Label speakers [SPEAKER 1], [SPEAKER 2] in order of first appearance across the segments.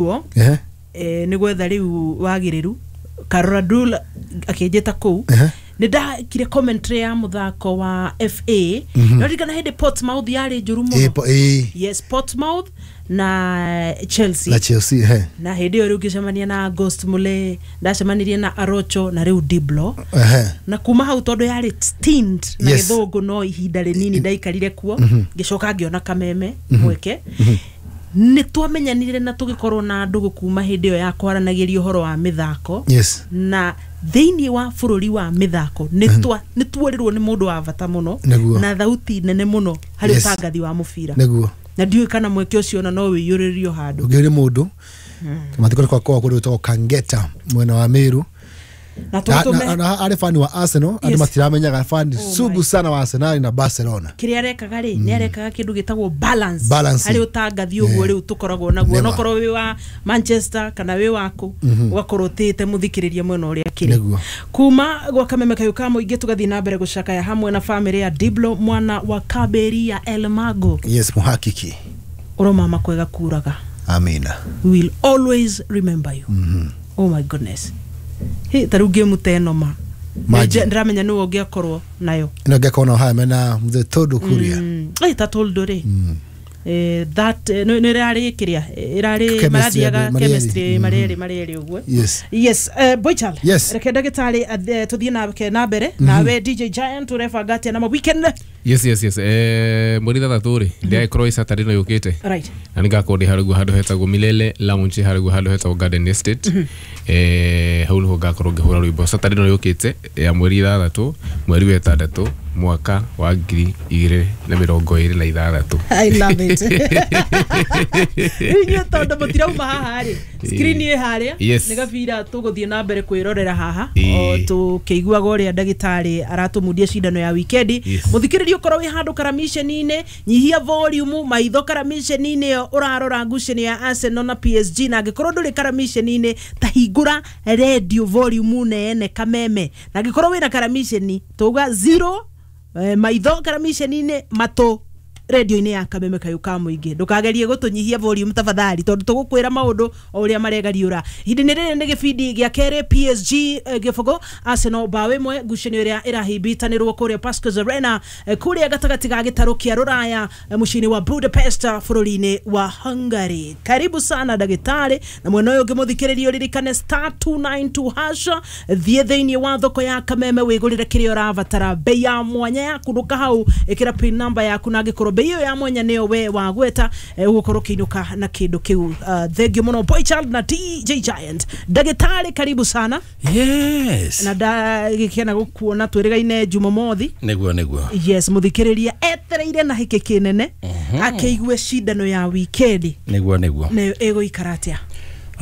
[SPEAKER 1] Kuo nĩ gwetha rĩu wagĩrĩru Karora Dul akĩnjĩta kũu. Nĩ ndakire commentary ya mũthako wa FA no ririkana hĩndĩ Portsmouth yarĩ njũru mũno. Yes, Portsmouth na Chelsea.
[SPEAKER 2] Na Chelsea, ehe.
[SPEAKER 1] Na hĩndĩ ĩyo rĩu ngĩcemania na Ghost Mule, ndacemanirie na Arocho na rĩu Diblo. Na kuma hau, tondũ yarĩ stint na gĩthũngũ, no ihinda rĩnini ndaikarire kuo, ngĩcoka ngĩona Kameme mweke. Nĩ twamenyanire na tũgĩkorwo na ndũgũ kuma hĩndĩ ĩyo ya kwaranagĩria ũhoro wa mĩthako. Na thĩinĩ wa bũrũri wa mĩthako nĩ tuorirwo nĩ mũndũ wa bata mũno na thauti nene mũno harĩ ũtangathi wa mũbira. Na ndiũĩ kana mweke ũcio ona no wĩiyũrĩrĩrio handũ.
[SPEAKER 2] Ũngĩ nĩ mũndũ mathiko kwa kwa kũndũ gwĩtagwo Kangeta, mwena wa Meru.
[SPEAKER 1] Na tũtũme
[SPEAKER 2] Na arĩ fan wa Arsenal, andũ matiramenyaga, fan
[SPEAKER 1] Oh
[SPEAKER 2] sugu
[SPEAKER 1] my.
[SPEAKER 2] sana wa Arsenal na Barcelona.
[SPEAKER 1] Kĩrĩa arekaga rĩ, nĩ arekaga kĩndũ gĩtagwo balance
[SPEAKER 2] Balance.
[SPEAKER 1] harĩ ũtangathi ũguo rĩu tũkoragwo naguo. Onokorwo wĩ wa Manchester kana wĩ waku, ũgakorwo ũtĩĩte mũthikĩrĩria mwena ũrĩa akĩrĩ. Kuma gwa Kameme Kayũ ka Mũingĩ, tũgathiĩ na mbere gũcakaya hamwe na bamĩrĩ ya Diblo mwana wa Kaberi ya Elmago.
[SPEAKER 2] Yes, muhakiki.
[SPEAKER 1] Ũromama kwega kuraga.
[SPEAKER 2] Amina.
[SPEAKER 1] We will always remember you. Oh my goodness, hĩ, ta rĩu ngĩmu ta ĩno ma.
[SPEAKER 2] Imagine.
[SPEAKER 1] Ndĩramenya nĩwe ũngĩakorwo nayo.
[SPEAKER 2] Ĩno ngĩakorwo nao haya mena mzee Todo Kuria.
[SPEAKER 1] Ta toldo rĩ, that nĩ ĩrarĩ kĩrĩa ĩrarĩ
[SPEAKER 2] Chemistry
[SPEAKER 1] marathiaga
[SPEAKER 2] marĩ erĩ.
[SPEAKER 1] Chemistry marĩ erĩ ũguo. Yes, boychal. Reke ndagĩtarĩ tũthiĩ nake na mbere. Nawe DJ Giant, ũrebanga atĩa na ma weekend?
[SPEAKER 3] Yes, mweri 6 rĩ, ndĩragĩkorwo ĩ Saturday ĩno yũkĩte. Na nĩngakorwo ndĩ harĩa ũguo handũ hetagwo Milele Lounge, harĩa ũguo handũ hetagwo Garden Estate. Hau nĩho ngakorwo ngĩhũra rwĩmbo Saturday ĩno yũkĩte ya mweri 6 mweri wa 6 mwaka wa 2026.
[SPEAKER 1] I love it. Rĩu inyuĩ tondũ mũtirauma haha rĩ, screen ĩ harĩa. Nĩ gabira tũgũthiĩ na mbere kwĩrorera haha o tũkĩiguaga ũrĩa ndagĩtarĩ aratũmundia cindano ya wikendi. Mũthikĩrĩria, ũkorwo wĩ handũ karamiceni-inĩ, nyihia volume maitho karamiceni-inĩ ĩyo ũrarora ngucanio ya Arsenal na PSG. Na angĩkorwo ndũrĩ karamiceni-inĩ, ta hingũra radio volume nene Kameme. Na angĩkorwo wĩna karamiceni, tuga zero, maitho karamiceni-inĩ, matũ radio-inĩ ya Kameme Kayũ ka Mũingĩ. Ndũkagerie gũtũnyihia volume tafadhali, tondũ tũgũkwĩra maũndũ o ũrĩa maregariũra. Ihinda-inĩ rĩrĩ nĩ gĩbindi gĩa kerĩ, PSG 0, Arsenal 1, ngucanio ĩrĩa ĩrahimbitanĩrwo kũrĩa Pascals Arena, kũrĩa gatagatĩ ga gĩtarũ kĩa Rũraya, mũciĩ-inĩ wa Budapest, bũrũri-inĩ wa Hungary. Karibu sana ndagĩtarĩ. Na mwena ũyũ ũngĩ, mũthikĩrĩria, ũririkane *292#. Thiĩ thĩinĩ wa thoko ya Kameme wĩgũrĩre kĩrĩa ũrabatara, bei ya mwanya yaku. Ndũka hau, ĩkĩra pin number yaku, na angĩkorwo bei ĩyo ya mwanya nĩyo we wagweta, ũgũkorwo ũkĩinũka na kĩndũ kĩu. Thank you mũno, Boy Child na DJ Giant. Ndagĩtarĩ, karibu sana. Na ndagĩkena gũkuona, twĩrĩgaine Jumamothi.
[SPEAKER 4] Nĩguo.
[SPEAKER 1] Yes, mũthikĩrĩria etereire na hĩkĩ kĩnene akĩigue cindano ya wikendi
[SPEAKER 4] Nĩguo.
[SPEAKER 1] nayo ĩgũikara atĩa.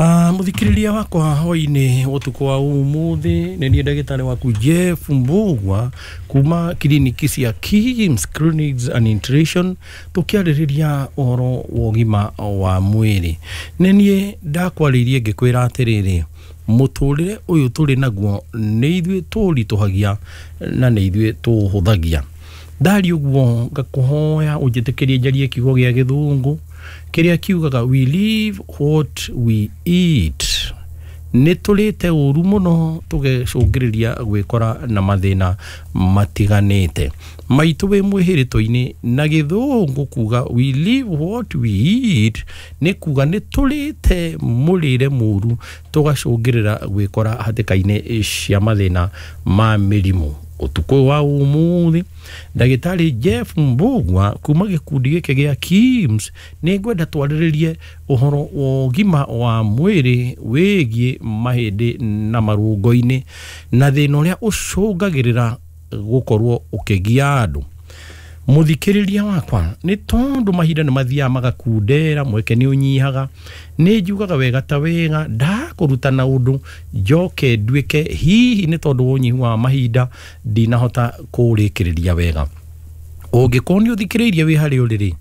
[SPEAKER 4] Ah, mũthikĩrĩria wakwa, hwainĩ ũtukũ wa ũmũthĩ nĩ niĩ ndagĩtarĩ waku Jeff Mbugua kuma kiriniki cia Kims Clinics and Nutrition, tũkĩarĩrĩria ũhoro wa ũgima wa mwĩrĩ. Nĩ niĩ ndakwarĩirie ngĩkwĩra atĩrĩrĩ, mũtũrĩre ũyũ tũrĩ naguo nĩ ithuĩ tũũritũhagia na nĩ ithuĩ tũũhũthagia. Ndari ũguo ngakũhoya ũnjĩtĩkĩrie njarie kiugo gĩa gĩthũngũ kĩrĩa kiugaga, "We live what we eat." Nĩ tũrĩte ũru mũno tũgecũngĩrĩria gwĩkora na mathĩna matiganĩte maitũ wĩ mwĩhĩrĩto-inĩ. Na gĩthũngũ kuga, "We live what we eat," nĩ kuga nĩ tũrĩte mũrĩre mũru tũgacũngĩrĩra gwĩkora hatĩka-inĩ cia mathĩna ma mĩrimũ. Ũtukũ ũyũ wa ũmũthĩ, ndagĩtarĩ Jeff Mbugua kuma gĩkundi gĩkĩ gĩa KIMS, nĩ ngwenda twarĩrĩrie ũhoro wa ũgima wa mwĩrĩ wĩgiĩ mahĩndĩ na marũngo-inĩ na thĩna ũrĩa ũcũngagĩrĩra gũkorwo ũkĩgia andũ. Mũthikĩrĩria wakwa, nĩ tondũ mahinda nĩ mathiaga magakundera, mweke nĩ ũnyihaga, nĩ njugaga wega ta wega ndakũrutana ũndũ njoke nduĩke hihi nĩ tondũ wa ũnyihu wa mahinda ndinahota kũũrĩkĩrĩria wega. Ũngĩkorwo nĩ ũthikĩrĩirie wĩ harĩa ũrĩ rĩ,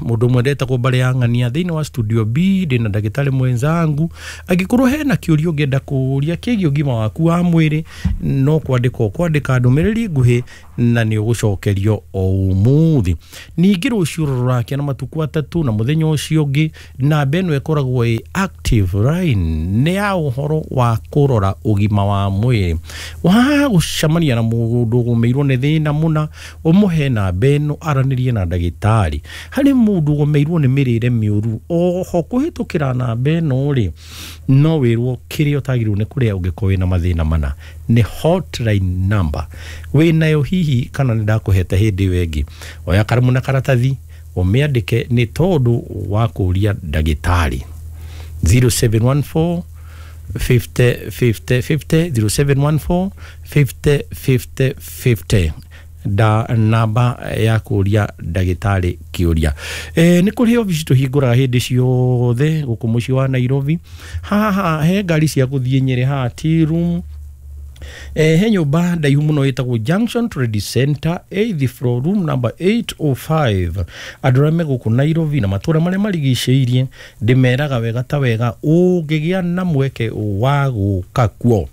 [SPEAKER 4] Mundu ũmwe ndetagwo Mbare ya Ng'ania thĩinĩ wa studio B ndĩna ndagĩtarĩ mwenzangu. Angĩkorwo hena kĩũria ũngĩenda kũũria kĩgiĩ ũgima waku wa mwĩrĩ, no kwandĩka ũkwandĩka ndũmĩrĩri nguhĩ na nĩ ũgũcokerio o ũmũthĩ. Ningĩ rũciũ rũrakia na matukũ atatũ na mũthenya ũcio ũngĩ namba ĩno ĩkoragwo ĩ active line nĩ ya ũhoro wa kũrora ũgima wa mwĩrĩ. Wa gũcemania na mũndũ ũgũmĩirwo nĩ thĩna mũna, ũmũhe namba ĩno aranĩrie na ndagĩtarĩ. Harĩ mũndũ ũgũmĩirwo nĩ mĩrĩre mĩũru, oho kũhĩtũkĩra namba ĩno rĩ, no wĩrwo kĩrĩa ũtagĩrĩirwo nĩ kũrĩa ũngĩkorwo wĩna mathĩna mana. Nĩ hotline number wĩnayo hihi kana nĩ ndakũhete hĩndĩ ĩyo ĩngĩ. Oya karamu na karatathi ũmĩandĩke nĩ tondũ wa kũũria ndagĩtarĩ. 0714 50 50 50 0714 50 50 50 da namba ya kũũria ndagĩtarĩ kĩũria. Nĩ kũrĩ obici tũhingũraga hĩndĩ ciothe gũkũ mũciĩ wa Nairobi. Haha he ngari cia gũthiĩ Nyĩrĩ haha tea room. He nyũmba ndaihu mũno ĩtagwo Junction Trade Center 8th floor room number 805. Andũ arĩa me gũkũ Nairobi na matũra marĩa marigicĩirie ndĩmeraga wega ta wega ũngĩgĩa na mweke wa gũka kuo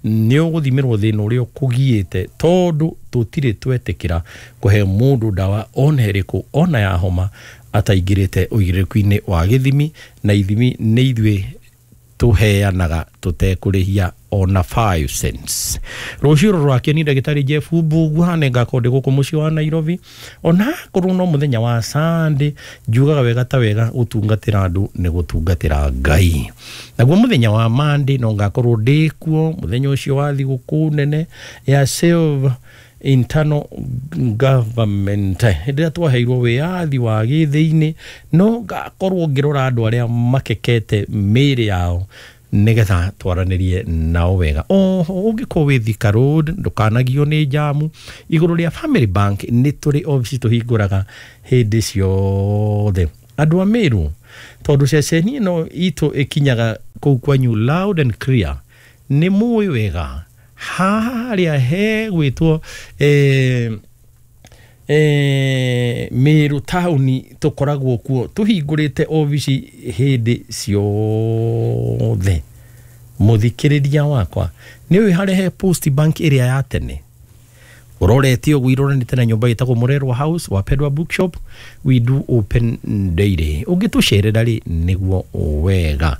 [SPEAKER 4] nĩ ũgũthimĩrwo thĩna ũrĩa ũkũgiĩte, tondũ tũtirĩ twetĩkĩra kũhe mũndũ ndawa ona ĩrĩkũ ona ya homa ataingĩrĩte ũigĩrĩrĩku-inĩ wa gĩthimi, na ithimi nĩ ithuĩ tũheanaga tũtekũrĩhia ona 5 cents. Rũciũ rũrakia ni ndagĩtarĩ Jeff Mbugua nĩ ngakorwo ndĩ gũkũ mũciĩ wa Nairobi. Ona korwo no mũthenya wa Sunday, njugaga wega ta wega gũtungatĩra andũ nĩ gũtungatĩra Ngai. Naguo mũthenya wa Monday no ngakorwo ndĩ kuo, mũthenya ũcio wa thigũkũ nene ya Self Internal Government hĩndĩ ĩrĩa twaheirwo wĩyathi wa gĩthĩinĩ, no ngakorwo ngĩrora andũ arĩa makekete mĩĩrĩ yao nĩgetha twaranĩrie nao wega. Oho ũngĩkorwo wĩ Thika Road ndũkanagio nĩ njamu. Igũrũ rĩa Family Bank nĩ tũrĩ obici tũhingũraga hĩndĩ ciothe. Andũ a Meru, tondũ ceceni ĩno itũ ĩkinyaga kũu kwanyu loud and clear, nĩ mũĩ wega harĩa he gwĩtwo Meru taũni tũkoragwo kuo tũhingũrĩte obici hĩndĩ ciothe. Mũthikĩrĩria wakwa, nĩ ũĩ harĩa he Post Bank ĩrĩa ya tene ũrorete ũguo iroranĩte na nyũmba ĩtagwo Mũrerwa House wa Pedwa Bookshop, we do open daily. Ũngĩtũcerera rĩ nĩguo wega.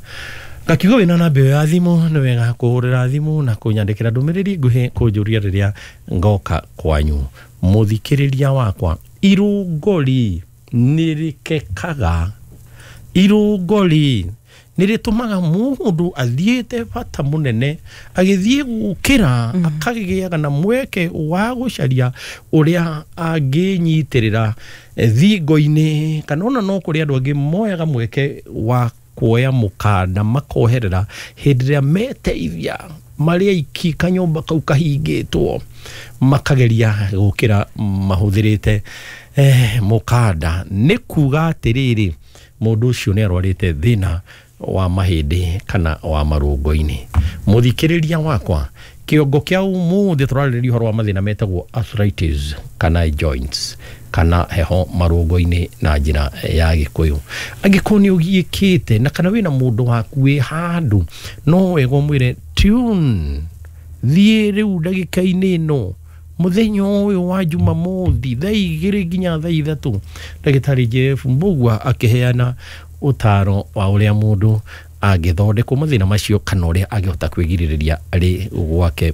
[SPEAKER 4] Ngakiuga wĩna namba ĩyo ya thimũ nĩ wega kũhũrĩra thimũ na kũnyandĩkĩra ndũmĩrĩri nguhĩ kũnjũria rĩrĩa ngoka kwanyu. Mũthikĩrĩria wakwa, irũngori nĩ rĩkekaga, irũngori nĩ rĩtũmaga mũndũ athiĩte bata mũnene agĩthiĩ gũkĩra akagĩaga na mweke wa gũcaria ũrĩa angĩnyitĩrĩra thingo-inĩ, kana ona no kũrĩ andũ angĩ moyaga mweke wa kuoya mũkanda makoherera hĩndĩ ĩrĩa meteithia marĩ aiki kanyũmba kau kahingĩtwo makageria gũkĩra mahũthĩrĩte mũkanda. Nĩ kuga atĩrĩrĩ, mũndũ ũcio nĩ arwarĩte thĩna wa mahĩndĩ kana wa marũngo-inĩ. Mũthikĩrĩria wakwa, kĩongo kĩa ũmũthĩ tũrarĩrĩria ũhoro wa mathĩna metagwo arthritis kana joints kana heho marũngo-inĩ na njĩra ya Gĩkũyũ. Angĩkorwo nĩ ũgiĩkĩte na kana wĩna mũndũ waku wĩ handũ, no wega ũmwĩre tune thiĩ rĩu ndagĩka-inĩ ĩno mũthenya ũyũ wa Jumamothi thaa 2 nginya thaa 3 ndagĩtarĩ Jeff Mbugua akĩheana ũtaro wa ũrĩa mũndũ angĩthondekwo mathĩna macio kana ũrĩa angĩhota kwĩgirĩrĩria arĩ gwake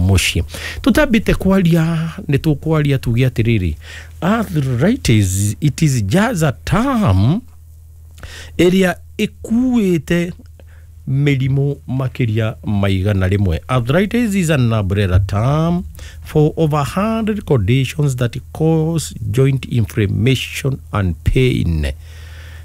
[SPEAKER 4] mũciĩ. Tũtambĩte kwaria nĩ tũkwaria tuge atĩrĩrĩ, arthritis it is just a term ĩrĩa ĩkuĩte mĩrimũ makĩria maigana rĩmwe. Arthritis is an umbrella term for over 100 conditions that cause joint inflammation and pain.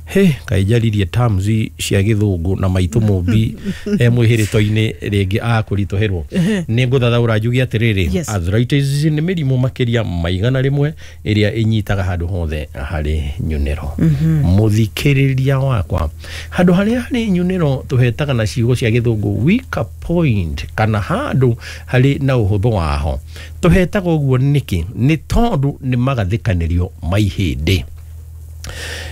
[SPEAKER 4] He kaĩ njaririe terms cia gĩthũngũ na maitũ mũmbi mwĩhĩrĩto-inĩ rĩngĩ akũritũhĩrwo. Nĩ ngũthathaũra njuge atĩrĩrĩ,
[SPEAKER 1] Yes.
[SPEAKER 4] Arthritis nĩ mĩrimũ makĩria maigana rĩmwe ĩrĩa ĩnyitaga handũ hothe harĩ nyunĩro. Mũthikĩrĩria wakwa, handũ harĩa harĩ nyunĩro tũhetaga na ciugo cia gĩthũngũ weaker point, kana handũ harĩ na ũhũthũ waho. Tũhetaga ũguo nĩkĩ? Nĩ tondũ nĩ magathĩkanĩrio ma ihĩndĩ.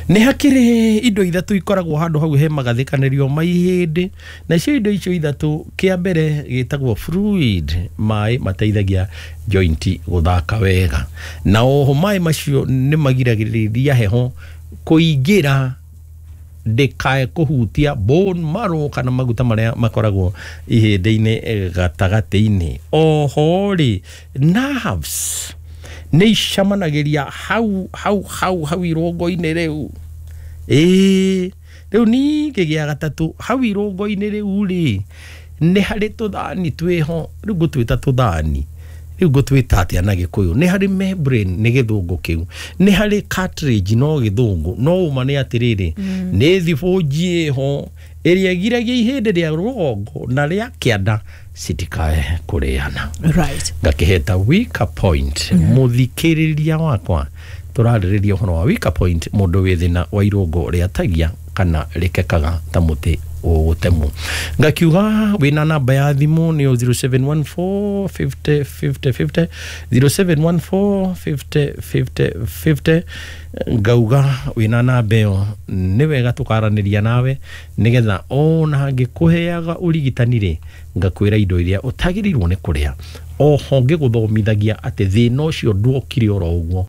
[SPEAKER 4] Nĩ hakĩrĩ indo ithatũ ikoragwo handũ hau he magathĩkanĩrio ma ihĩndĩ, na icio indo icio ithatũ, kĩa mbere gĩtagwo fluid, maĩ mateithagia joint gũthaka wega, na oho maĩ macio nĩ magiragĩrĩria heho kũingĩra ndĩkae kũhutia bone marrow kana maguta marĩa makoragwo ihĩndĩ-inĩ gatagatĩ-inĩ. Oho rĩ, nerves nĩ icamanagĩria hau hau hau hau irũngo-inĩ rĩu. Ĩĩ, rĩu ningĩ gĩa gatatũ, hau irũngo-inĩ rĩu rĩ, nĩ harĩ tũthani twĩho, rĩu ngũtwĩta tũthani, rĩu ngũtwĩta atĩa na Gĩkũyũ? Nĩ harĩ membrane nĩ gĩthũngũ kĩu, nĩ harĩ cartilage no gĩthũngũ, no ũma nĩ atĩrĩrĩ, nĩ thibũnji ĩho ĩrĩa ĩgiragia ihĩndĩ rĩa rũgongo na rĩa kĩanda citikae kũrĩana.
[SPEAKER 1] Right.
[SPEAKER 4] Ngakĩheta weaker point. Mũthikĩrĩria wakwa, tũrarĩrĩria ũhoro wa weaker point, mũndũ wĩ thĩna wa irũngo rĩatagia kana rĩkekaga ta mũtĩ ũgũtemwo. Ngakiuga wĩna namba ya thimũ nĩyo 0714 50 50 50, 0714 50 50 50. Ngauga wĩna namba ĩyo nĩ wega tũkaranĩria nawe, nĩgetha ona ngĩkũheaga ũrigitani rĩ, ngakwĩra indo iria ũtagĩrĩirwo nĩ kũrĩa. Oho ngĩgũthomithagia atĩ thĩna ũcio nduokire oro ũguo,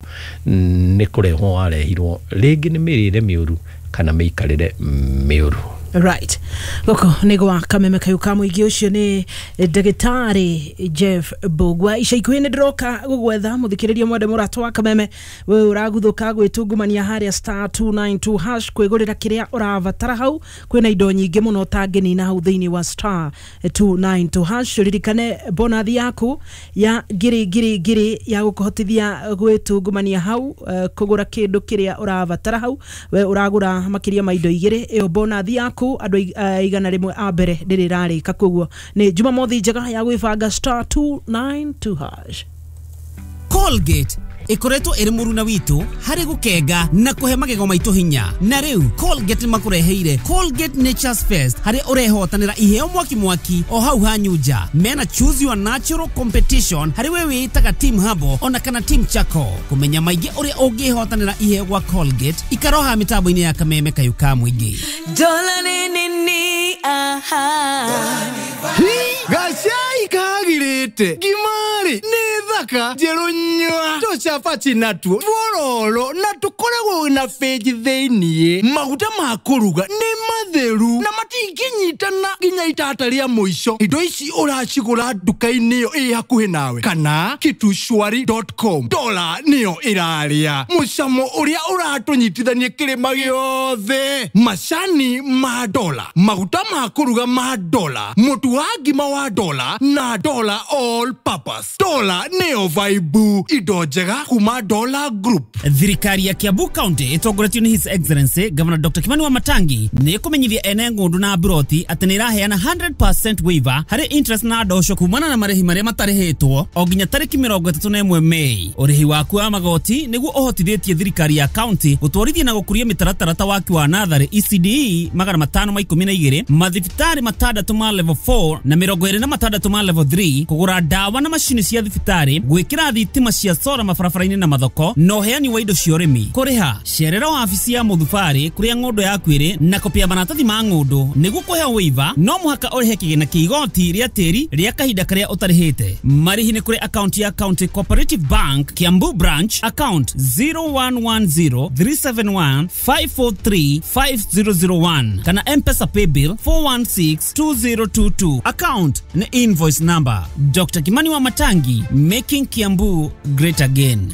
[SPEAKER 4] nĩ kũrehwo warehirwo rĩngĩ nĩ mĩrĩre mĩũru kana mĩikarĩre mĩũru.
[SPEAKER 1] Right. Gũkũ nĩ gwa Kameme Kayũ ka mũingĩ, ũcio nĩ ndagĩtarĩ Jeff Mbũgua. Ica ikuhĩ nĩ ndĩroka gũgwetha mũthikĩrĩria mwende mũrata wa Kameme, we ũraguthũka gwĩtungumania harĩa star 292 hash kwĩgũrĩra kĩrĩa ũrabatara hau. Kwĩna indo nyingĩ mũno ũtangĩnina hau thĩinĩ wa star 292 hash. Ririkane bonathi yaku ya ngiri ngiri ngiri ya gũkũhotithia gwĩtungumania hau, kũgũra kĩndũ kĩrĩa ũrabatara hau. We ũragũra makĩria ma indo igĩrĩ, ĩyo bonathi yaku andũ 100 a mbere ndĩrĩ ĩrarĩka. Koguo nĩ Jumamothi njega ya gwĩbanga star 292 hash.
[SPEAKER 5] Colgate ikoretwo ĩrĩ mũruna witũ harĩ gũkenga na kũhe magego maitũ hinya, na rĩu Colgate makũreheire Colgate Nature's Fest, harĩa ũrehotanĩra iheo mwaki mwaki o hau hanyu nja. Mena choose your natural competition harĩ we wĩĩtaga team Habo ona kana team Chako. Kũmenya maingĩ ũrĩa ũngĩhotanĩra iheo gwa Colgate, ikaroha mĩtambo-inĩ ya Kameme Kayũ ka mũingĩ.
[SPEAKER 6] Dola ni ni aha.
[SPEAKER 7] Gacai kagirĩte ngimari nĩ thaka njerũ nyua tũcabaci natuo twororo na tũkoragwo na benji thĩiniĩ. Maguta ma kũruga nĩ matheru na matingĩnyitana nginya itata rĩa mũico. Indo ici ũracigũra nduka-inĩ ĩyo ĩ hakuhĩ nawe kana kitushwari.com. Dola nĩyo ĩrarĩa mũcamo ũrĩa ũratũnyitithania kĩrĩma gĩothe. Macani ma dola, maguta ma kũruga ma dola, mũtu wa ngima wa dola na dola all purpose. Dola nĩyo vibe, indo njega kuma Dola Group.
[SPEAKER 5] Thirikari ya Kiambu County ĩtongoretio nĩ His Excellency Governor Dr. Kimani Wamatangi nĩ ĩkũmenyithia ene ng'ũndũ na mburoti atĩ nĩ ĩraheana 100% waiver harĩ interest na ndosho kumana na marĩhi marĩa matarĩhĩtwo o nginya tarĩki 31 Mei. Ũrĩhi waku wa magoti nĩguo ũhotithĩtie thirikari ya county gũtwarithia na gũkũria mĩtaratara ta waki wa natharĩ ECDE 512, mathibitarĩ matandatũ ma level 4 na 26 ma level 3, kũgũra ndawa na macini cia thibitarĩ, gwĩkĩra thitima cia sora mabarabara-inĩ na mathoko, na ũheani wa indo cia ũrĩmi. Kũrĩha cerera wabici ya mũthubarĩ kũrĩa ng'ũndũ yaku ĩrĩ na kopi ya maratathi ma ng'ũndũ. Nĩguo kũheo waiver no mũhaka ũrĩhe kĩgĩna kĩa igoti rĩa tĩri rĩa kahinda karĩa ũtarĩhĩte. Marĩhi nĩ kũrĩ akaunti ya County Cooperative Bank Kiambu Branch, account 0110 371 543 5001 kana M-Pesa paybill 416 2022. Account ni invoice number. Dr. Kimani Wamatangi, making Kiambu great again.